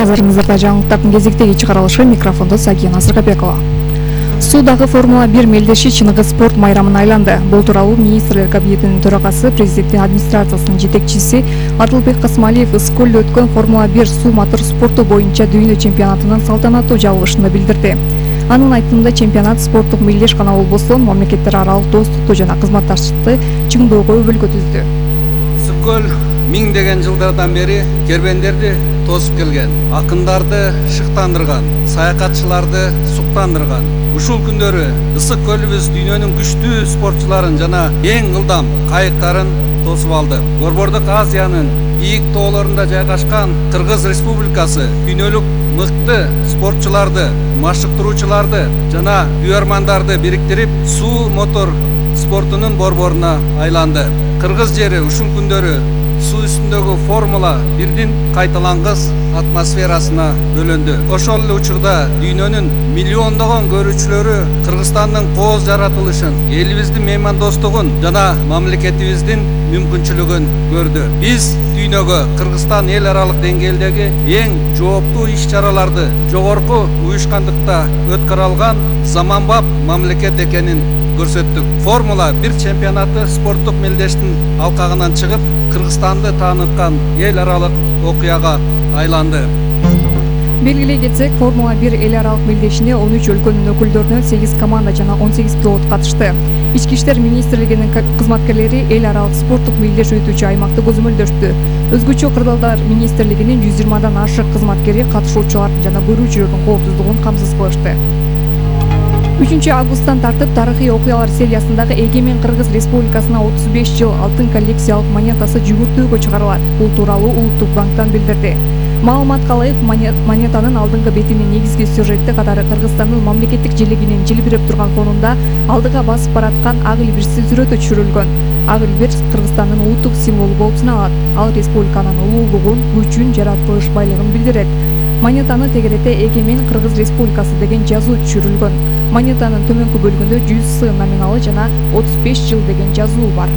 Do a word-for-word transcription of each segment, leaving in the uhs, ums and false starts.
Назарыңыздарда жаңылыктардын кезектеги чыгарылышы, микрофондо Сагия Назарбекова. Суудагы Формула бир мелдеши чыныгы спорт майрамына айланды. Бул тууралуу министрлер кабинетинин төрагасы, президенттин администрациясынын жетекчиси Адылбек Касмалиев Ыскөлдө өткөн Формула бир суу мотор спорту боюнча дүйнө чемпионатынын салтанаттуу жабылышында билдирди. Анын айтымында чемпионат спорттук мелдеш гана болбосо, мамлекеттер аралык достукту жана кызматташтыкты чыңдоого өбөлгө түздү. Ыскөл миңдеген жылдардан бери кербендерди тосуп келген, акындарды шыктандырган, саякатчыларды суктандырган. Ушул күндөрү ысык көлүбүз дүйнөнүн күчтүү спортчуларын жана эң ылдам кайыктарын тосуп алды. Борбордук Азиянын ийик тоолорунда жайгашкан Кыргыз Республикасы дүйнөлүк мыкты спортчуларды, машыктыруучуларды жана үйөрмандарды бириктирип, суу мотор спортунун борборуна айланды. Кыргыз жери ушул күндөрү суу үстүндөгү Формула бирдин кайталангыс атмосферасына бөлөндү. Ошол эле учурда дүйнөнүн миллиондогон көрүүчүлөрү Кыргызстандын кооз жаратылышын, элибиздин меймандостугун жана мамлекетибиздин мүмкүнчүлүгүн көрдү. Биз дүйнөгө Кыргызстан эл аралык деңгээлдеги эң жооптуу иш-чараларды жогорку уюшкандыкта өткөрө алган заманбап мамлекет экенин көрсөттүк. Формула бир чемпионаты спорттук мелдештин алкагынан чыгып, Кыргызстанды тааныткан эл аралык окуяга айланды. Белгилей кетсек, Формула бир эл аралык мелдешине он үч өлкөнүн өкүлдөрүнөн сегиз команда жана он сегиз пилот катышты. Ички иштер министрлигинин кызматкерлери эл аралык спорттук мелдеш өтүүчү аймакты көзөмөлдөштү. Өзгөчө кырдаалдар министрлигинин жүз жыйырмадан ашык кызматкери катышуучулардын жана көрүүчүлөрдүн коопсуздугун камсыз кылышты. үчүнчү августтан тартып тарыхый окуялар сериясындагы Эгемен Кыргыз Республикасына отуз беш жыл алтын коллекциялык монетасы жүгүртүүгө чыгарылат. Бул тууралуу Улуттук банктан билдирди. Маалыматка ылайык, монетанын алдыңкы бетинин негизги сюжети катары Кыргызстандын мамлекеттик желегинин жылбиреп турган фонунда алдыга басып бараткан ак илбирси сүрөтү түшүрүлгөн. Ак илбир Кыргызстандын улуттук символу болуп саналат. Ал республиканын улуулугун, күчүн, жаратылыш байлыгын билдирет. Монетаны тегерете Эгемен Кыргыз Республикасы деген жазуу түшүрүлгөн. Монетанын төмөнкү бөлүгүндө жүз с номиналы жана отуз беш жыл деген жазуу бар.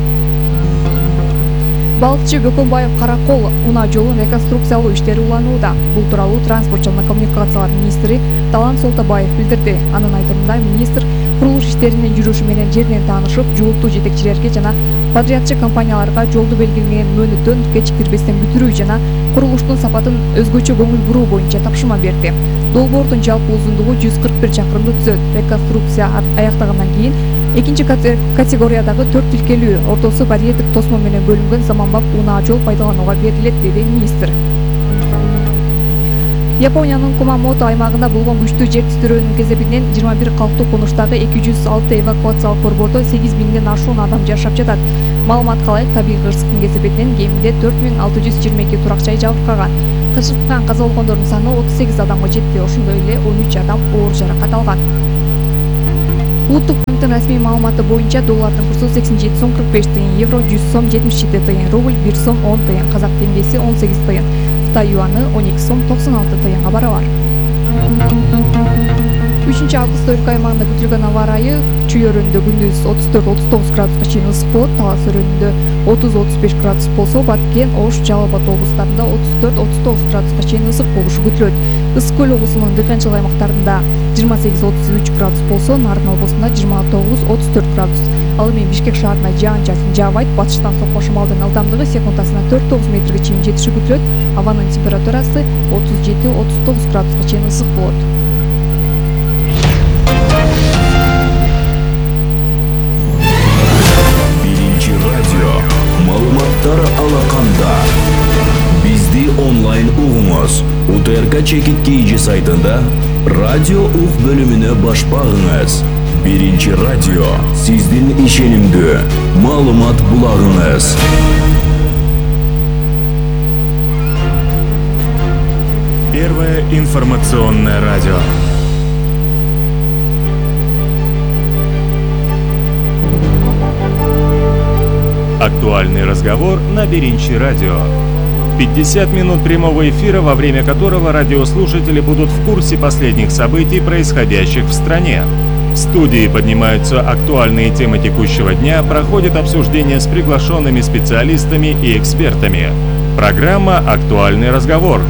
Балыкчы Бөкөнбаев Каракол унаа жолун реконструкциялоо иштери уланууда. Бул тууралуу транспорт жана коммуникациялар министри Талант Солтабаев билдирди. Анын айтымында министр курулуш иштеринин жүрүшү менен жеринен таанышып, жогорку жетекчилерге жана подрядчы компанияларга жолду белгиленген мөөнөттөн кечиктирбестен бүтүрүү жана курулуштун сапатын өзгөчө көңүл буруу боюнча тапшырма берди. Долбоордун жалпы узундугу жүз кырк бир чакырымды түзөт. Реконструкция аяктагандан кийин экинчи категориядагы төрт тилкелүү, ортосу барьердик тосмо менен бөлүнгөн заманбап унаа жол пайдаланууга берилет, деди министр. Япониянын Кумамото аймагында болгон күчтүү жер титирөөнүн кесепинен жыйырма бир калктуу конуштагы эки жүз алты эвакуациялык борбордо сегиз миңден ашуун адам жашап жатат. Маалыматка ылайык, табигый кырсыктын кесепинен кеминде төрт миң алты жүз жыйырма эки турак жай жабыркаган. Кырсыктан каза болгондордун саны отуз сегиз адамга жетти. Ошондой эле он үч адам оор жаракат алган. Улуттук банктын расмий маалыматы боюнча доллардын курсу сексен жети сом кырк беш тыйын, евро жүз сом жетимиш жети тыйын, рубль бир сом он тыйын, казак теңгеси он сегиз тыйын, Кытай юаны он эки сом токсон алты тыйынга барабар. үчүнчү августта өлкө аймагында күтүлгөн аба ырайы: Чүй өрөөнүндө күндүз отуз төрт отуз тогуз градуска чейин ысык болот, Талас өрөөнүндө отуз отуз беш градус болсо, Баткен, Ош, Жалал Абад облустарында отуз төрт отуз тогуз градуска чейин ысык болушу күтүлөт. Ысык көл облусунун дыйканчылык аймактарында жыйырма сегиз отуз үч градус болсо, Нарын облусунда жыйырма тогуз отуз төрт градус. Ал эми Бишкек шаарында жаан-чачын жаабайт, батыштан сокко шамалдын ылдамдыгы секундасына төрт тогуз метрге чейин жетиши күтүлөт. Абанын температурасы отуз жети отуз тогуз градуска чейин ысык болот. Маалыматтар алаканда. Бизди онлайн угуңуз. У Т Р К чекит кийинчи сайтында радио ук бөлүмүнө баш багыңыз. Биринчи радио сиздин ишенимдүү маалымат булагыңыз. Первое информационное радио. Актуальный разговор на Биринчи радио. пятьдесят минут прямого эфира, во время которого радиослушатели будут в курсе последних событий, происходящих в стране. В студии поднимаются актуальные темы текущего дня, проходит обсуждение с приглашенными специалистами и экспертами. Программа «Актуальный разговор».